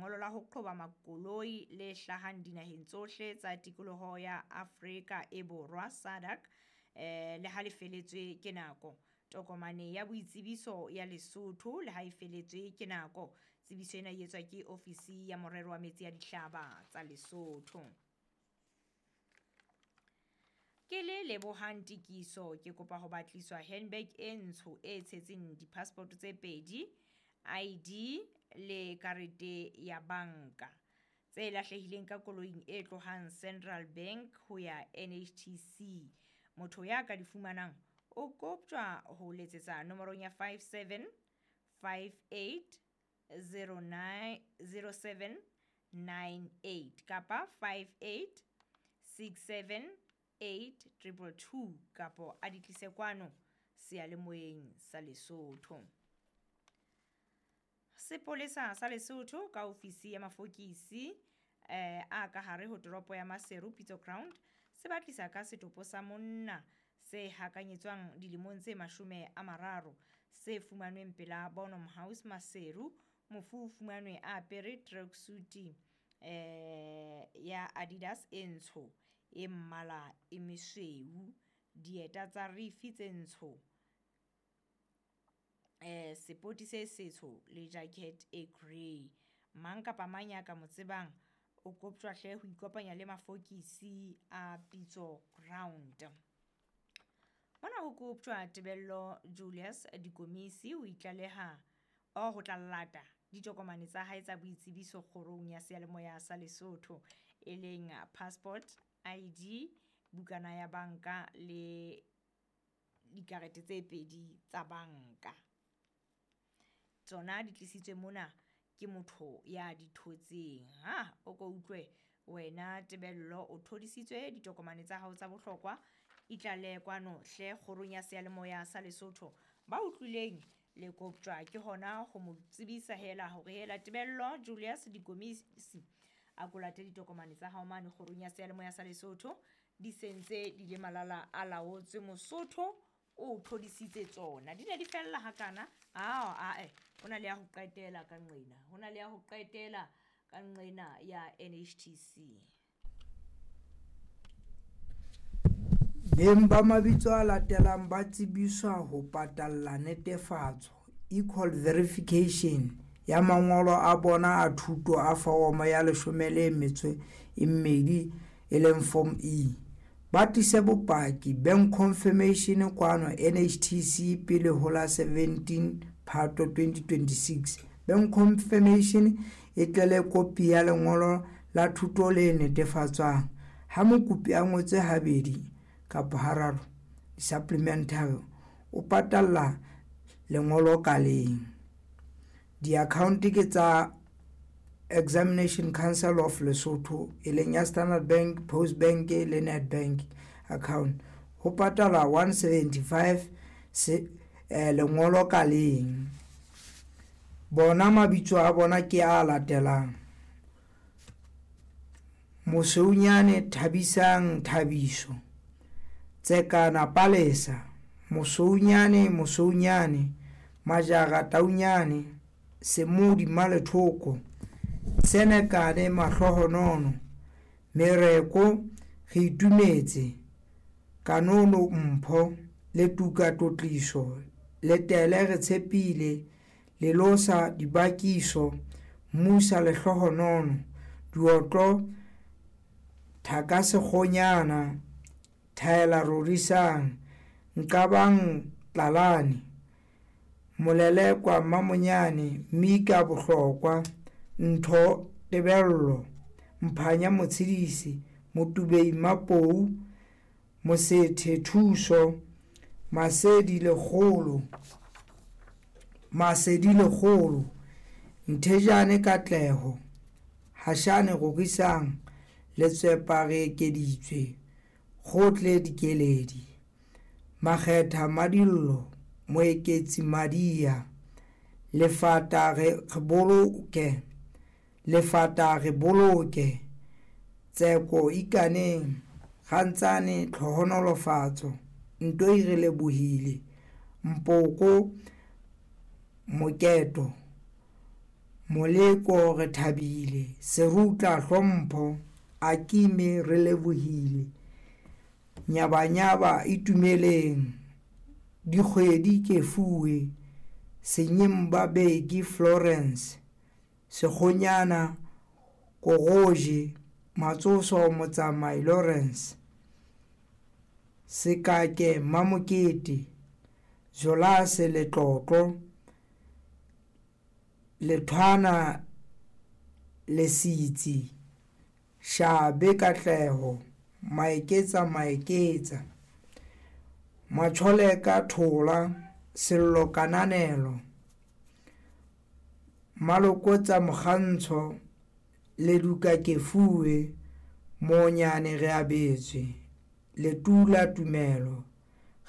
lengolo la ho qhoba makoloi le hlahang dinaheng tsohle tsa tikoloho ya Afrika e Borwa SADC le ha le feletswe ke nako. Tokomane ya boitsebiso ya Lesotho le ha e feletswe ke nako. Tsebiso ena e etswa ke ofisi ya morero wa metsi a dihlaba tsa Lesotho. Ke le Lebohang Tikiso ke kopa ho batliswa handbag e ntsho e tshetseng di-passport tse pedi, ID le karete ya banka tse lahlehileng ka koloing e tlohang Central Bank ho ya NHTC. Motho ya ka di fumanang o koptjwa ho letsetsa nomorong ya 57 58 09 07 98 kapa 58 67 8222 kapo a di tlise kwano seyalemoyeng sa Lesotho. Sepolesa sa Lesotho ka ofisi ya mafokisi a ka hare ho toropo ya Maseru Pitso Ground se batlisa ka setopo sa monna se hakanyetswang dilemong tse 30 se fumanweng pela Bonham House Maseru. Mofu o fumanwe a apere tracksuit ya Adidas e ntsho e mmala e mesweu, dieta tsa rifi tse ntsho, sepoti se setsho le jacket e grey. Mang kapa mang ya ka mo tsebang o koptjwa hle ho ikopanya le mafokisi a Pitso Ground. Mona ho koptjwa Tebello Julius Dikomisi ho itlaleha o ho tla lata ditokomane tsa hae tsa boitsebiso kgorong ya seyalemoya sa Lesotho e leng passport, ID, bukana ya banka le dikarete tse pedi tsa banka. Tsona di tlisitswe mona ke motho ya di thotseng. Ha o ko utlwe wena Tebello o thodisitswe ditokomane tsa hao tsa bohlokwa, itlale kwano hle kgorong ya seyalemoya sa Lesotho. Ba utlwileng le koptjwa ke hona ho mo tsebisa hela hore hela Tebello Julius Dikomisi a ko late ditokomane tsa hao mane kgorong ya seyalemoya sa Lesotho di sentse di le malala a laotswe. Mosotho o thodisitse tsona di ne di fella hakana. Ao ho na le ya ho qetela ka nqena, ho na le ya ho qetela ka nqena ya NHTC. Beng ba mabitso a latelang ba tsebiswa ho patalla netefatso equal verification ya mangolo a bona a thuto a foromo ya 12 e leng Form E. Ba tlise bopaki bank confirmation kwano NHTC pele ho la 17 Phato 2026. Bank confirmation e tle le kopi ya lengolo la thuto le netefatswang. Ha mokopi a ngotse habedi kapa hararo di-supplementary o patalla lengolo ka leng. Di-account ke tsa Examination Council of Lesotho e leng ya Standard Bank, Post Bank le Nedbank account. Ho patala 175 lengolo ka leng. Bona mabitso a bona ke a latelang: Mosounyane Thabisang Thabiso, Tsekana Palesa, Mosounyane Mosounyane, Majara Taunyane, Semodi Malethoko, Senekane Mahlohonono, Mereko Re Itumetse, Kanono Mpho, Letuka Tlotliso, Letele Re Tshepile, Lelosa Dibakiso, Musa Lehlohonono, Diotlo Thakasekgonyana, Thaela Rorisang, Nqabang Tlalane, Molelekwa Mamonyane, Mika Bohlokwa, Ntho Tebello, Mphanya Motshedisi, Motubei Mapou, Mosethe Thuso, Masedi Lekgolo, Masedi Lekgolo, Nthejane Katleho, Hashane Rorisang, Letswepa Re Ekeditswe, Kgotle Dikeledi, Makgetha Madillo, Moeketsi Madia, Lefata Re Boloke, Lefata Re Boloke, Tseko Ikaneng, Kgantsane Tlhohonolofatso, Ntoi Re Lebohile, Mpoko Moketo, Moleko Rethabile, Serutla Hlompho, Akime Relebohile, Nyabanyaba Itumeleng, Dikgwedi Kefuwe, Senyemba Beki Florence, Sekgonyana Kogoje, Matsoso Motsamai Lawrence, Sekake Mamokete, Jolase Letlotlo, Lethwana Lesitsi, Shabe Katleho, Maeketsa Maeketsa, Macholeka Thola, Sello Kananelo, Malokotsa Mokgantsho, Leduka Kefuwe, Monyane Reabetswe, Letula Tumelo,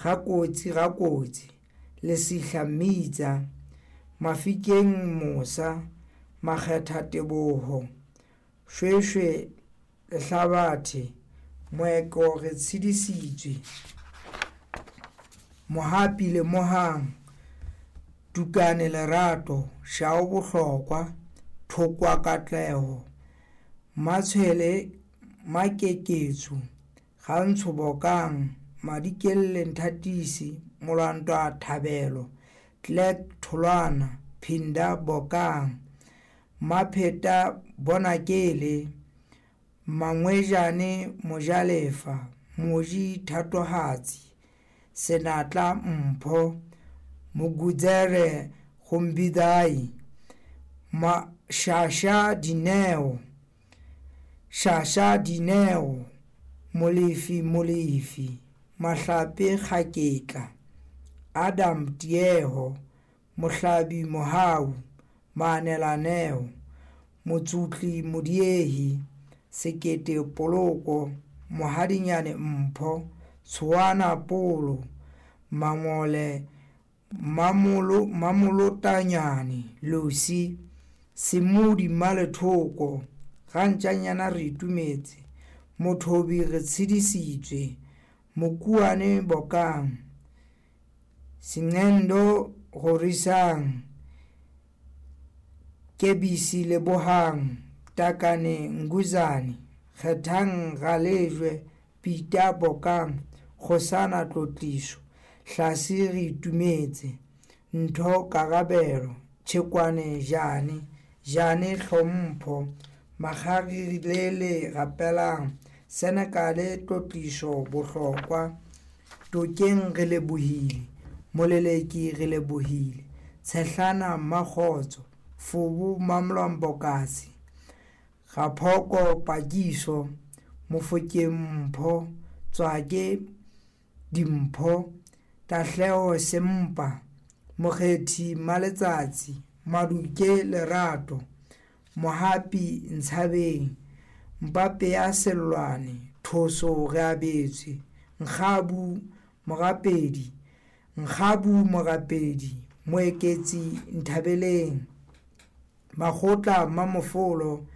Gakotsi Gakotsi, Lesihla Mmitsa, Mafikeng Mosa, Makgetha Teboho, Shweshwe Lehlabathe, Moeko Re tshedisitswe, Mohapi Lemohang, Tukane Lerato, Shao Bohlokwa, Thokwa Katleho, Matshwele Makeketso, Gantsho Bokang, Madikelle Nthatisi, Molwantwa Thabelo, Clerk Tholwana, Phinda Bokang, Mapheta Bonakele, Mangwejane Mojalefa, Moji Thatohatsi, Senatla Mpho, Mogudzere Gombidai, Shasha Dineo, Shasha Dineo, Molefi Molefi, Mahlape Kgaketla, Adam Tieho, Mohlabi Mohau, Maanelaneo, Motsutli Modiehi, Sekete Poloko, Mohadinyane Mpho, Tshoana Polo, Mangole Mamolotanyane Lucy, Semodi Malethoko, Gantšanyana Re Itumetse, Mothobi Re tshedisitswe, Mokuane Bokang, Sengendo Rorisang, Kebisi Lebohang, Takane Nguzane, Kgethang Galejwe, Peter Bokang, Kgosana Tlotliso, Hlase Re Itumetse, Ntho Karabelo, Tšhekwane Jane, Jane Hlompho, Makgarilele Rapelang, Senekale Tlotliso Bohlokwa, Tokeng Re Lebohile, Moleleki Re Lebohile, Tshehlana Mmakgotso, Fobo Mamlambokasi, Gaphoko Pakiso, Mofokeng Mpho, Tswake Dimpho, Tahleho Sempa, Mokgethi Maletsatsi, Maduke Lerato, Mohapi Ntshabeng, Mpape Sellwane, Thoso Reabetswe, Nkgabu Morapedi, Nkgabu Morapedi, Moeketsi Nthabeleng, Makgotla Mamofolo,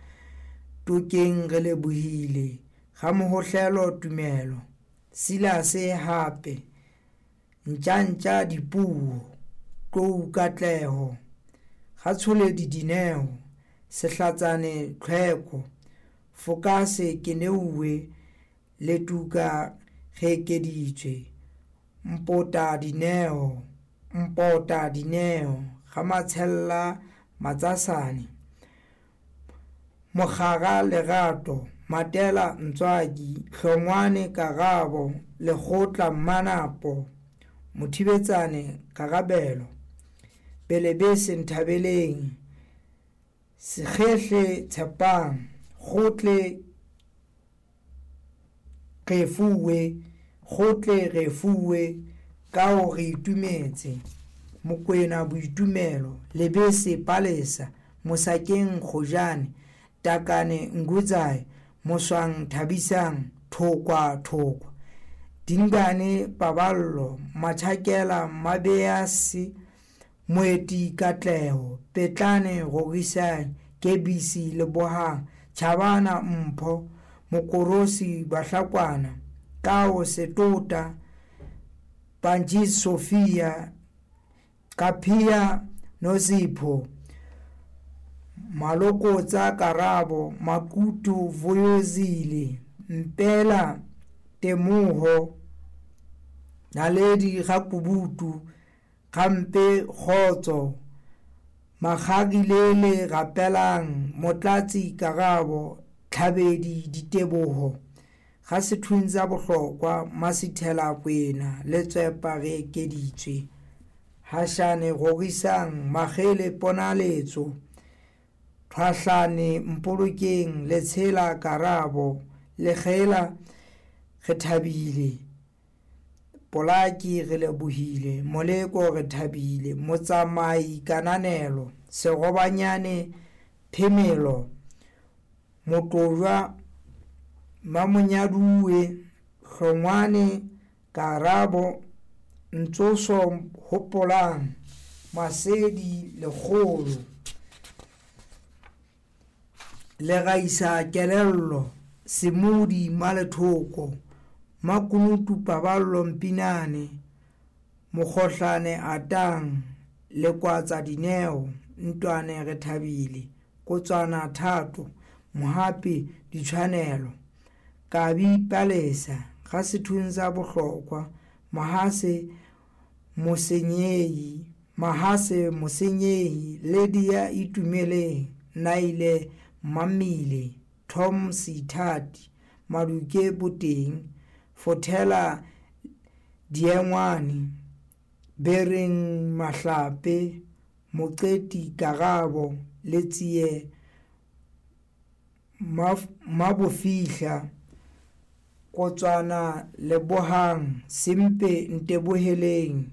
Tokeng Re Lebohile, Gamohohlelo Tumelo, Silase Hape, Ntjantja Dipuo, Tlou Katleho, Gatsholedi Dineo, Sehlatsane Tlhweko, Fokase Keneuwe, Letuka Reekeditswe, Mpota Dineo, Mpota Dineo, Gamatshella Matsasane, Mokgara Lerato, Matela Ntswaki, Hlongwane Karabo, Lekgotla Mmanapo, Mothibetsane Karabelo, Belebese Nthabeleng, Sekgehle Tshepang, Kgotle Refuwe, Kgotle Refuwe, Kao Re Itumetse, Mokwena Boitumelo, Lebese Palesa, Mosakeng Kgojane, Takane Ngudzai, Moswang Thabisang, Thokwa Thokwa, Dingane Paballo, Machakela Mabease, Moeti Katleho, Petlane Rorisang, Kebisi Lebohang, Chabana Mpho, Mokorosi Bahlakwana, Kao Setota, Panjis Sofia, Kapia Nozipho, Malokotsa Karabo, Makutu Vuyozile, Mpela Temoho, Naledi Gakubutu, Gampe Kgotso, Makgagilele Rapelang, Motlatsi Karabo, Tlhabedi Diteboho, Ga Sethuntsa Bohlokwa, Masithela Kwena, Letsepa Re Ekeditswe, Hashane Rorisang, Makgele Ponaletso, Thwahlane Mpolokeng, Letshela Karabo, Lekgela Re Thabile, Polaki Re Lebohile, Moleko Re Thabile, Motsamai Kananelo, Serobanyane Phemelo, Motojwa Mamonyaduwe, Hlongwane Karabo, Ntsoso Hopolang, Masedi Lekgolo, Legaisa Kelello, Semodi Malethoko, Makunutu Paballo Mpinane, Mokgohlane Atang, Lekwatsa Dineo, Ntwane Re Thabile, Kotswana Thato, Mohapi Ditshwanelo, Kabi Palesa, Ga Sethuntsa Bohlokwa, Mahase Mosenyehi, Mahase Mosenyehi, Lydia Itumeleng, Naile Mamile, Tom Seithati, Maduke Boteng, Fothela Diengwane, Bereng Mahlape, Moqeti Karabo, Letsie Mabofihla, Kotswana Lebohang, Sempe Nteboheleng,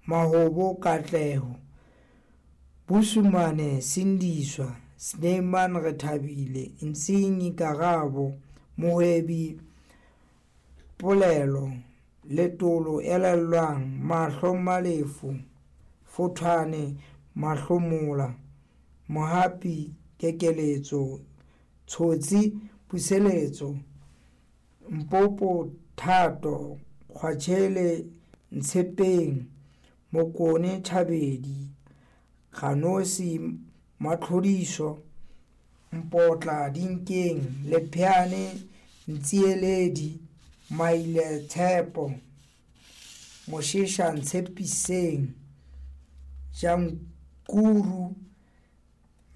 Mahobo Katleho, Busumane Sindiswa, Snyman Re Thabile, Ntsinyi Karabo, Mohwebi Polelo, Letolo Elellwang, Mahlo Malefu, Fothwane Mahlomola, Mohapi Kekeletso, Tshotsi Puseletso, Mpopo Thato, Kgwatshele Ntshepeng, Mokone Thabedi, Ganosi Matlhodiso, Mpotla Dinkeng, Lepheane Ntsieledi, Maile Tshepo, Moshesha Ntshepiseng, Jankuru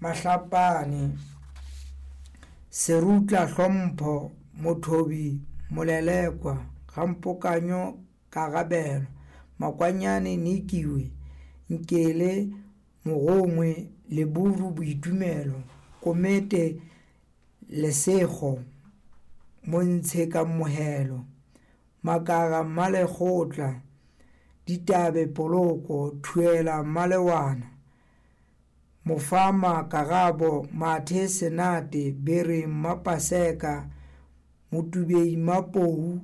Mahlapane, Serutla Hlompho, Mothobi Molelekwa, Gampokanyo Karabelo, Makwanyane Nikiwe, Nkele Mogongwe, Leburu Boitumelo, Komete Lesego, Montshe Kamohelo, Makara Mmalekgotla, Ditabe Poloko, Thuela Malewana, Mofama Karabo, Mathe Senate, Bereng Mapaseka, Motubei Mapou,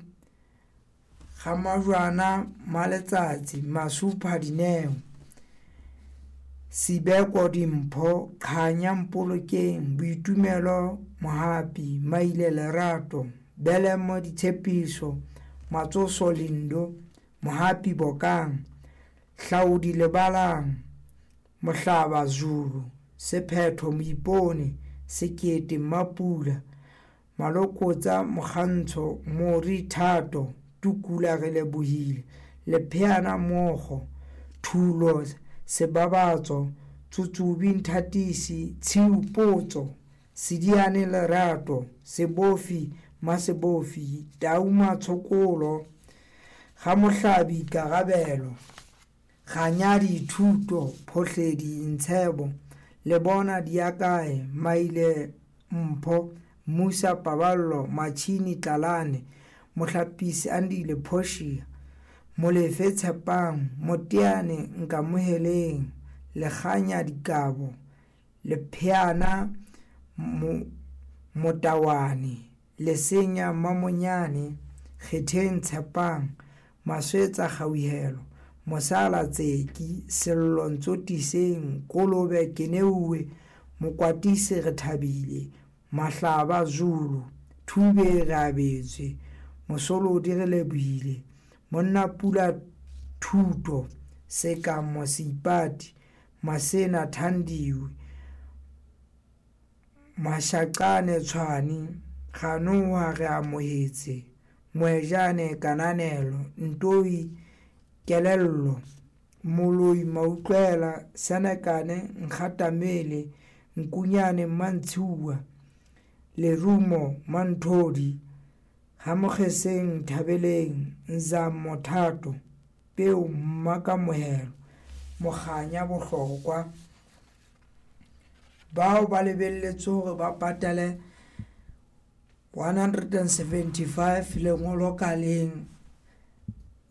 Gamajwana Maletsatsi, Masupha Dineo, Sibeko Dimpho, Kganya Mpolokeng, Boitumelo Mohapi, Maile Lerato, Belemo Ditshepiso, Matsoso Lindo, Mohapi Bokang, Hlaudi Lebalang, Mohlaba Zulu, Sephetho Moipone, Sekete Mapula, Malokotsa Mokgantsho, Mori Thato, Tukula Re Lebohile, Lepheana Mogo, Thulo Sebabatso, Tsutsubi Nthatisi, Tshiu Potso, Sediane Lerato, Sebofi Masebofi, Tau Matshokolo, Gamohlabi Karabelo, Ganyadi Thuto, Phohledi Ntshebo, Lebona Diakae, Maile Mpho, Musa Paballo, Machini Tlalane, Mohlapisi Andile Portia, Molefe Tshepang, Moteane Nkamoheleng, Lekganya Dikabo, Lepheana Motawane, Lesenya Mamonyane, Kgetheng Tshepang, Maswetsa Kgauhelo, Mosala Tseki, Sello Ntsotiseng, Kolobe Keneuwe, Mokwatisi Re Thabile, Mahlaba Zulu, Thube Re Abetswe, Mosolodi Re Lebohile, Monna Pula Thuto, Sekamo Seipati, Masena Thandiwe, Mashaqane Tshwane, Kganoha re amohetse, Moejane Kananelo, Ntoi Kelello, Moloi Mautlwela, Senekane Nkgatamele, Nkunyane Mmantshiuwa, Lerumo Manthodi, Ramokgeseng Nthabeleng, Nzamo Thato, Peo Mmakamohelo, Mokganya Bohlokwa. Bao ba lebelletswe hore ba patale 175 lengolo ka leng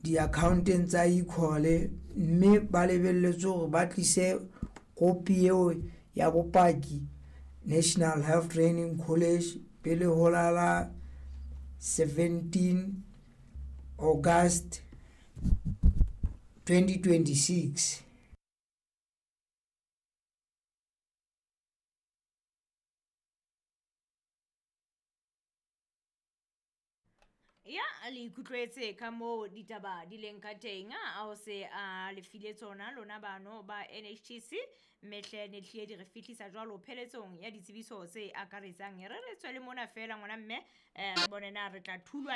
di-account-eng tsa e-call, mme ba lebelletswe hore ba tlise kopi eo ya bopaki National Health Training College pele ho la la 17 August 2026. Ya le ikutlwetse ka moo ditaba di leng ka teng, a o se a le file tsona lona bano ba NHTC, mme hle ne tlile di re fihlisa jwalo pheletsong ya ditsebiso tse akaretsang. Re re tswe le mona fela ngwana mme, re bone na re tla thulwa.